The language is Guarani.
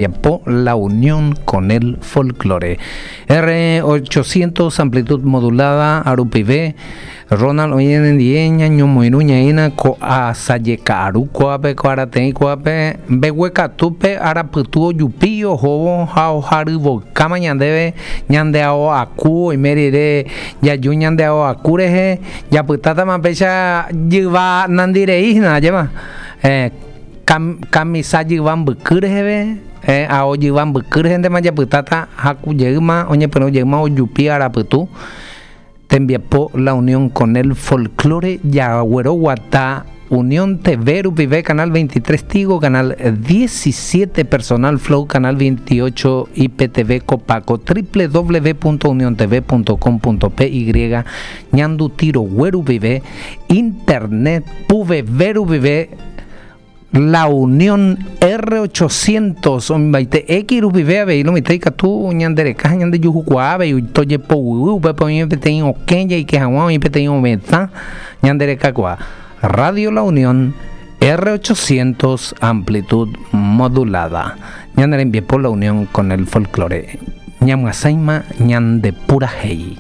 Tembiapo La Unión con el Folklore. R800 amplitud modulada rupive, Ronald oĩ nendive ñañomoirũ ñaína ko asaje ka'aru kuápe, ko arateĩ kuápe, mbeguekatúpe arapytu ojupi ohóvo ha oharyvoykáma ñandéve ñande ao aku oime rire jaju ñande ao aku rehe japytátama péicha jyva nandirei hína ajépa. Kamisa jyva mbyky reheve, ao jyva mbyky rehéntema japytáta haku jeýma, oñepyrũ jeýma ojupi arapytu, tembiapo La Unión con el Folklore jagueroguata Unión TV rupive, Canal 23 Tigo, Canal 17 Personal Flow, Canal 28 IPTV Copaco, www.uniontv.com.py, Ñanduti Rogue rupive, Internet Puveve rupive, La Unión R800 oimbaite X rupive avei lo mitã ikatu ñande reka ha ñande juhukuaa avei tojepoguy upépe oĩ peteĩ okẽ jaike hag̃ua oĩ peteĩ ovetã ñande rekakuaa. Radio La Unión R800 amplitud modulada. Ñane rembiapo La Unión con el folklore. Ñamyasãima ñande purahéi.